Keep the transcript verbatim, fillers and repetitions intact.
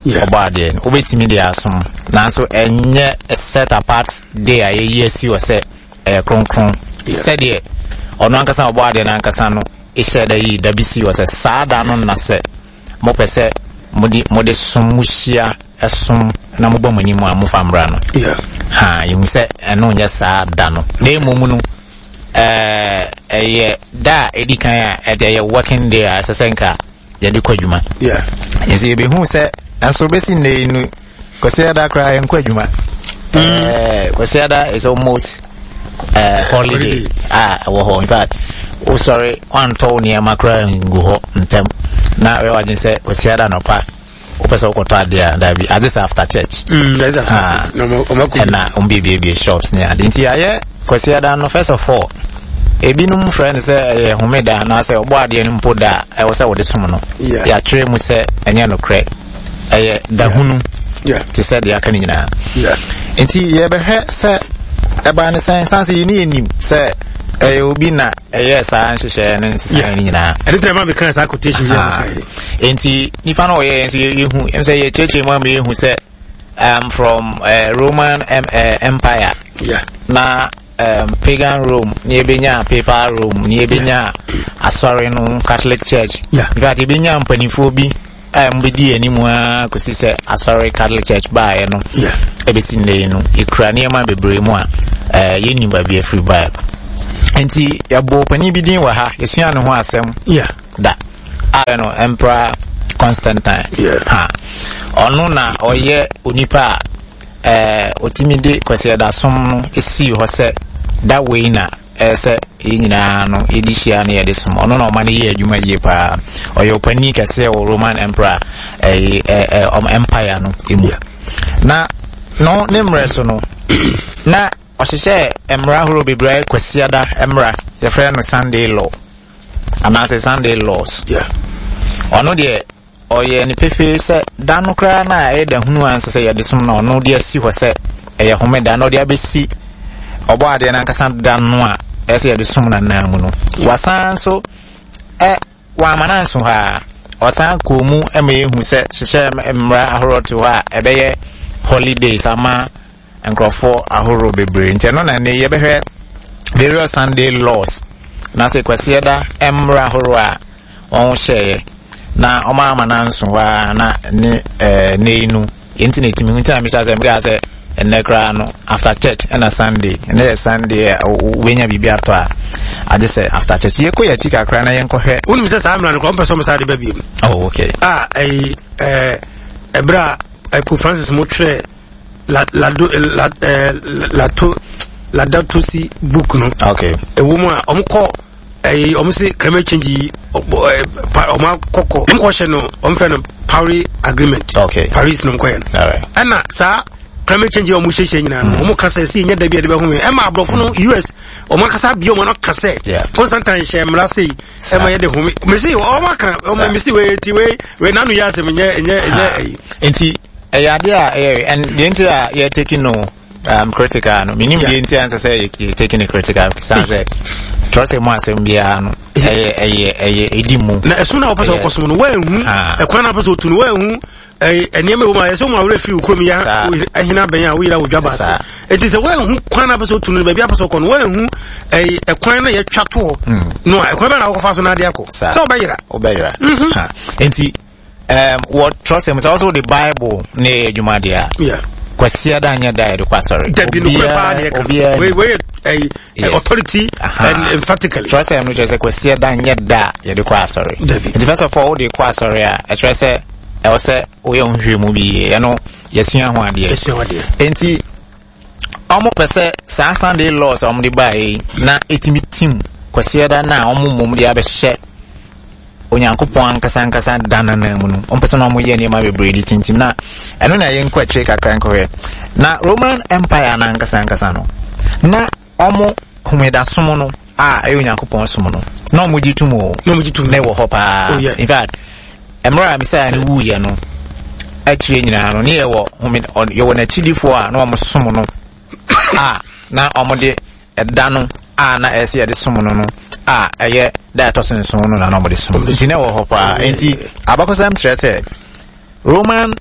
Ɔbɔ adeɛ no, wobɛtumi de asom, nanso ɛnyɛ set apart day a yɛyi asi wɔ sɛ ɛyɛ kronkron sɛdeɛ ɔno ankasa ɔbɔ adeɛ no ankasa no ɛhyɛ da yi da bi si wɔ sɛ saa da no, na sɛ mopɛ sɛ mode mode som, mo hyia ɛsom na mobɔ mo anim a, mofa mmra no. Ha yɛhu sɛ ɛno nyɛ saa da no, na mmom no ɛɛ ɛyɛ da a ɛdi kan a ɛde ɛyɛ working day a ɛsɛ sɛ nka yɛde kɔ adwuma. Nti yɛbɛhu sɛ nso bɛsi nnɛ yi no, Kwasiada koraa yɛnkɔ adwuma. ɛɛ Kwasiada is almost uh, holiday a ɛwɔ hɔ. In fact, wosɔre wantɔ wo nneɛma koraa ngu hɔ ntɛm na ɛyɛ wadwen sɛ Kwasiada nɔpa wopɛ sɛ wokɔtɔ adeɛ a, daabi, agye sɛ after church. Ah. Ɛna ɔmbiebie shops ne ade. Nti ayɛ Kwasiada no, first of all, ebinom frɛ no sɛ ɛyɛ homeda anaasɛ ɔbɔ adeɛ no mpo da a ɛwɔ sɛ wɔde som no. Yeah. Yɛatwerɛ mu sɛ ɛnyɛ nokorɛ, ɛyɛ dahunu te sɛ deɛ aka no nyinaa. Nti yɛbɛhwɛ sɛ ɛbaa ne sɛn, san sɛ yɛne yɛnim sɛ ɛyɛ obi na ɛyɛ saa nhyehyɛeɛ ne nsesaeɛ no nyinaa. Ɛno tɛ ma meka saa quotation bi a Ah. mekaeɛ. Nti nipa no ɔyɛ nso yɛhu ɛm sɛ yɛkyerɛkyerɛ mu ama yɛhu sɛ um, from uh, Roman um, uh, Empire Yeah. na um, pagan Rome ne yɛbɛnya papal Rome ne yɛbɛnya asɔre no, Catholic Church. Yeah. In fact, yɛbɛnya mpanimfoɔ bi a mbɛdi anim a kɔsi sɛ asɔre Catholic Church baeɛ no. Yeah. Ɛbɛsi nnɛ yi no, yɛkura nneɛma bebree mu a eh, yɛnnim baabi afiri baeɛ. Nti yɛbɔ panin bi din wɔ ha, yɛsua ne ho asɛm Yeah. da a no Emperor Constantine. Yeah. Ha ɔno na ɔyɛ onipa a ɛɛ ɔtumi de Kwasiada som no esii hɔ sɛ da wei na ɛyɛ sɛ yɛn nyinaa no yɛdi hyia no yɛde som. Ɔno na ɔma no yɛ adwuma yie paa. Ɔyɛ ɔpanin kɛseɛ wɔ Roman Emperor ɛyɛ ɛɛ ɔm empire no emu. Na no ne mmerɛ so no na ɔhyehyɛ mmara ahorow bebree a ɛyɛ Kwasiada mmara, yɛfrɛ no Sunday law anaasɛ Sunday laws. Yeah. Ɔno deɛ, ɔyɛ ne pefee sɛ da no koraa na ɛyɛ da hunu ansa sɛ yɛde som no, ɔno de asi hɔ sɛ ɛyɛ homeda na ɔde abɛsi ɔbɔ adeɛ no ankasa da no a ɛyɛ sɛ yɛde som no anan mu no. Wasan so ɛ wama no anso hɔ a, ɔsan kɔɔ mu ma yɛhu sɛ hyehyɛ mmara ahoroɔ to hɔ a ɛbɛyɛ holidays ama nkurɔfoɔ ahorow bebree. Nti ɛno na ne yɛbɛhwɛ various Sunday laws na sɛ Kwasiada mmara ahorow a wɔn hyɛeɛ na ɔma ama no anso hɔ a na ne ɛɛ ne yi no yɛnti na ɛtumi nti na mesa sɛ meka sɛ ɛnnɛ koraa no after church ɛna Sunday, ɛnɛ yɛ Sunday a wobɛnya biribi atɔ a, agye sɛ after church. Yɛkɔ yɛ akyi kakra na yɛnkɔhwɛ. Wonim sɛ saa mmara no kora ɔmpɛ sɛ ɔmo saa de ba biom. Oh, okay. A ɛyi ɛɛ ɛberɛ a Pope Francis mo twerɛ la lado la ɛɛ lato Laudato Si book no, okay ɛwɔ mu a ɔmo kɔ ɛyi ɔmo se climate change yi ɔbɔ ɛɛ pa ɔmo akɔkɔ ɔmo kɔ hyɛ no, ɔmo fɛ no Paris Agreement. Okay Paris no nkɔyɛ no. All right. Ɛna saa climate change a ɔmo hyehyɛ nyinaa no, ɔmo kasa esi nyɛ dabi a yɛde bɛho ɛma aborɔfo no U S ɔmo akasa bia ɔmo ano ka sɛ Yeah. Constantine hyɛ mmara sei ɛma yɛde home mesi ɔmo aka ɔmo mesi wei ti wei wei nanu yɛ asɛm nyɛ nyɛ nyɛ ɛyi. Nti ɛyɛ adeɛ a ɛyɛ, and deɛ nti a yɛ taking no um, critical no, menim deɛ nti a nsɛ sɛ yɛ yɛ taking it critical, san sɛ twerɛ sɛ mu asɛm biara no ɛyɛ ɛyɛ ɛyɛ ɛdi mu. Na ɛsom na wɔpɛ sɛ wɔkɔsom no woanhu Ah. ɛkwan na wɔpɛ sɛ wɔtu no, woanhu ɛyi nneɛma ɛwɔ mu a ɛsɛ wɔn awerɛ firi wo kurom yɛ Saa. ahina bɛn a woyera wo dwa baase. Saa. Enti sɛ woanhu kwan na wɔpɛ sɛ wɔtu no, baabi a wɔpɛ sɛ wɔkɔ no, woanhu ɛyi ɛkwan na yɛtwa toɔ no a, ɛkwan bɛn na wɔkɔfa so na ade akɔ? Saa. Sɛ wɔbɛyera. Wobɛyera. Ha. Nti um, wɔ twerɛ sɛ mu sɛ wɔsɛ wode Bible ne ɛyɛ adwuma deɛ a, Yeah. Kwasiada nyɛ da a yɛde kɔ asɔre. Dabi, no kura paa deɛ ka Obiara wei wei yɛ ɛyi Yes. authority Aha. and emphatically. Twerɛ sɛ no kyerɛ sɛ Kwasiada nyɛ da a yɛde kɔ asɔre. Dabi. Nti first of all, wode kɔ asɔre a, ɛkyerɛ sɛ ɛwɔ sɛ woyɛ wo nhwehwɛ mu bi yie. Ɛno yɛsua ho adeɛ. Ɛsua ho adeɛ. Nti ɔmo pɛ sɛ saa Sunday laws a ɔmo de baeɛ yi na ɛtumi tim Kwasiada no a ɔmo mmom de abɛhyɛ Onyankopɔn ankasa ankasa da no nan mu no, ɔmo pɛ sɛ na ɔmo yɛ nneɛma bebree de tintim. Na ɛno na yɛnkɔ akyire kakra nkɔhwɛ na Roman Empire no ankasa ankasa no, na ɔmo homedasom no a ɛyɛ Onyankopɔn som no, na ɔmo gye tom o. Na ɔmo gye tom. Na ɛwɔ hɔ paa. Oh, yeah. In fact, mmerɛ a Mesaia no wuyɛ no akyire nyinaa no, ne yɛwɔ home ɔ- yɛwɔ n'akyidifoɔ a na ɔmo som no a na ɔmo de ɛda no a na ɛsɛ sɛ yɛde som no no a ɛyɛ da a ɛtɔ so nson no na na ɔmo de som. Nti na ɛwɔ hɔ paa. Nti abakɔsɛm kyerɛ sɛ Roman